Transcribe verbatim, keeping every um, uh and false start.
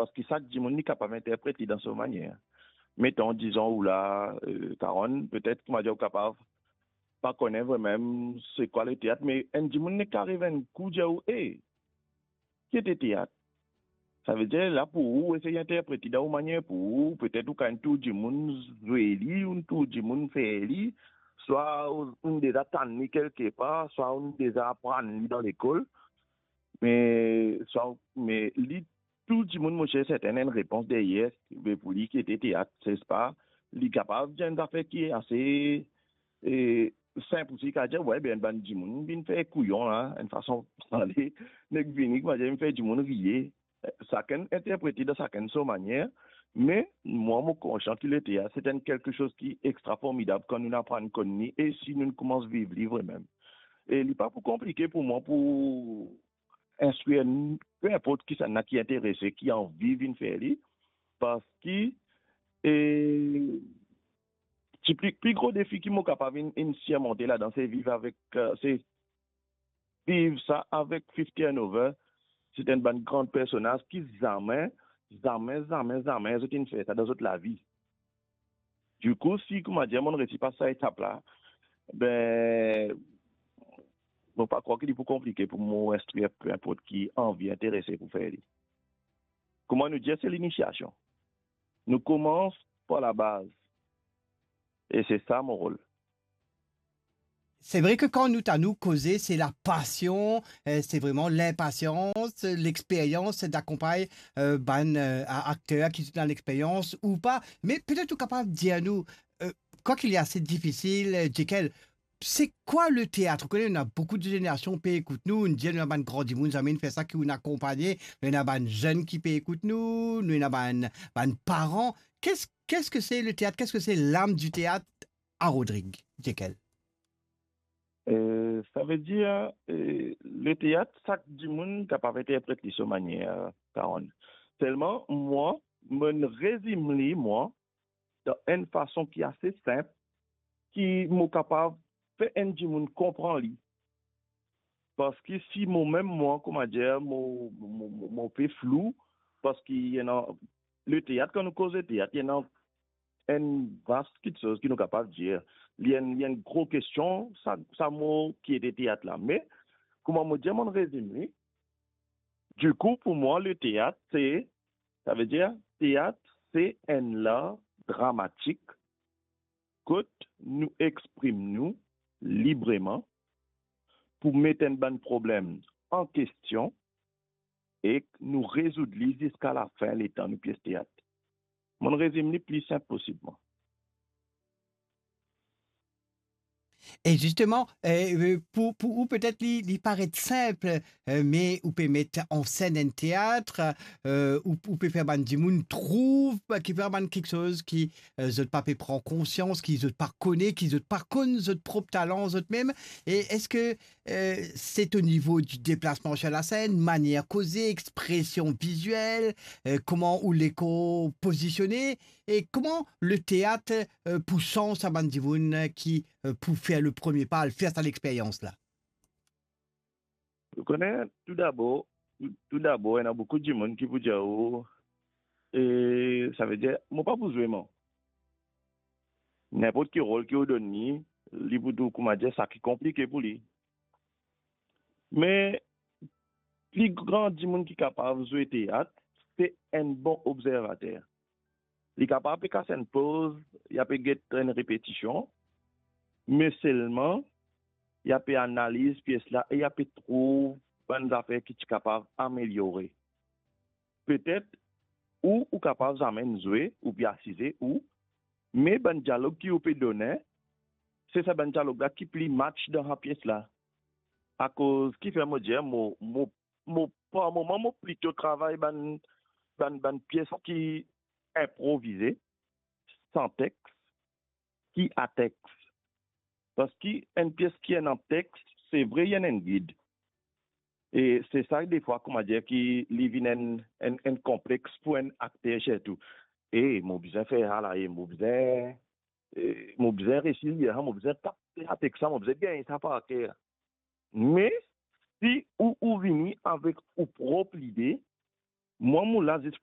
Parski sak dimoun li kapav interpret li dan so manier. Meton, dizon ou la, eh, Karonn, petet, koumadir, ou kapav pa kone vremem se kwa leteat, me enn dimoun nek ariv enn kou dir ou, "E, ki ete teat?" Savedir, la pou ou, ou esey interpret li dan ou manier pou ou, petet ou kapav enn tour dimoun zwe li, ou enn tour dimoun fer li, swa ou, ou deza tann li kelke par, swa ou deza aprann li dan lekol, me, swa, me li, tou dimoun, mo cher, serten ena enn repons deryer, be pou li ki ete teat, sespa, li kapav dir enn zafer ki ase, e, sinp osi, li kapav dir, "We, be, enn bann dimoun vinn fer kouyon la, enn fason pale, nek vini, koumadir, vinn fer dimoun riye." Sakenn interpret li dan sakenn so manier, me mwa, mo konsian ki leteat, se enn kelke soz ki extra formidab kan nou aprann konn li, e si nou koumans viv li vremem. E li pa pou konplike pou mwa pou instrir, pe inport kisannla ki interese, ki anvi vinn fer li, parski, e, ti pli, pli gro defi ki mo kapav inn, inn sirmonte ladan, se viv avek, eh, se viv sa avek fifty and over, se enn bann gran personaz ki zame, zame, zame, zame zot inn fer sa dan zot lavi. Dikou, si, koumadir, monn resi pas sa etap la, be, mo pa krwar ki li pou konplike pou mo instrir pe inport ki anvi, interese pou fer li. Kouma nou dir, se linisiasion. Nou koumans par labaz. E se sa mo rol. Se vre ki kan nou, ta nou koze, se lapasion, eh, se vreman linpasians, lexperyans, se dakonpagn, eh, bann, eh, a-, akter ki ena lexperyans ou pa. Me petet ou kapav dir nou, eh, kwaki li ase difisil, eh, Jekyll, se kwa leteat? Ou kone, ena boukou de zenerasion pe ekout nou, nou dir nou ena bann gran dimoun, zame inn fer sa, ki nou akonpagne, nou ena bann zenn ki pe ekout nou, nou ena bann, bann paran. Qu'est-ce, qu'est-ce que c'est le théâtre? Qu'est-ce que c'est l'âme du théâtre à Rodrigue, Jekyll? Eh, savedir, eh, leteat, sak dimoun kapav interpret li so manier, Karonn. Selman, mwa, monn rezim li, mwa, dan enn fason ki ase sinp, ki mo kapav fer enn dimoun konpran li. Parski si momem, mwa, koumadir, mo, mo, mo, mo pe flou, parski ena, leteat, kan nou koz leteat, ena enn vas kiksoz ki nou kapav dir. Li enn, li enn gro kestion, sa, sa mo ki ete teat la. Me, kouma mo dir, monn rezim li. Dikou, pou mwa, leteat, se, savedir, teat, se enn lar dramatik kot nou exprim nou libreman pou met enn bann problem an kestion ek nou rezoud li ziska lafin letan nou pies teat. Monn rezim li pli sinp posibman. E zisteman, eh, eh, pou, pou ou, petet li, li paret sinp, eh, me ou pe met an senn enn teat, eh, ou, ou pe fer bann dimoun trouv, ki fer bann kiksoz ki, eh, zot pa pe pran konsians, ki zot pa kone, ki zot pa konn zot prop talan zot mem. E eski, eh, se o nivo di deplasman sir lasenn, manier koze, expresion viziel, eh, kouma ou lekor pozisione, e kouma leteat, eh, pou sanz sa bann dimoun, eh, ki, eh, pou fer le premie pa, al fer sa lexperyans la? Ou kone, toudabor, tou, toudabor, ena boukou dimoun ki pou dir ou, e, savedir, mo pa pou zwe, mwa. Ninport ki rol ki ou donn li, li pou trouv, koumadir, sa ki konplike pou li. Me pli gran dimoun ki kapav zwe teat, se enn bon obzervater. Li kapav pe kas enn poz, li ape get enn repetision, me selman, li ape analiz pies la e li ape trouv bann zafer ki ti kapav ameliore. Petet, ou, ou kapav zame zwe, ou pe asize, ou, me bann dialog ki ou pe done, se sa bann dialog la ki pli match dan sa pies la. Akoz kifer mo dir, mo, mo, mo, par moman, mo plito travay bann, bann, bann pies ki inprovize, san text, ki a text. Parski enn pies ki ena text, se vre, li ena enn gid. E se sa, defwa, koumadir, ki li vinn enn, enn, enn konplex pou enn akter sirtou. E mo bizin fer sa la, e mo bizin, e mo bizin resi lir sa, mo bizin tap sa text la, mo bizin gagn sa par ker. Me si ou, ou vini avek ou prop lide, mwa, mo la zis pou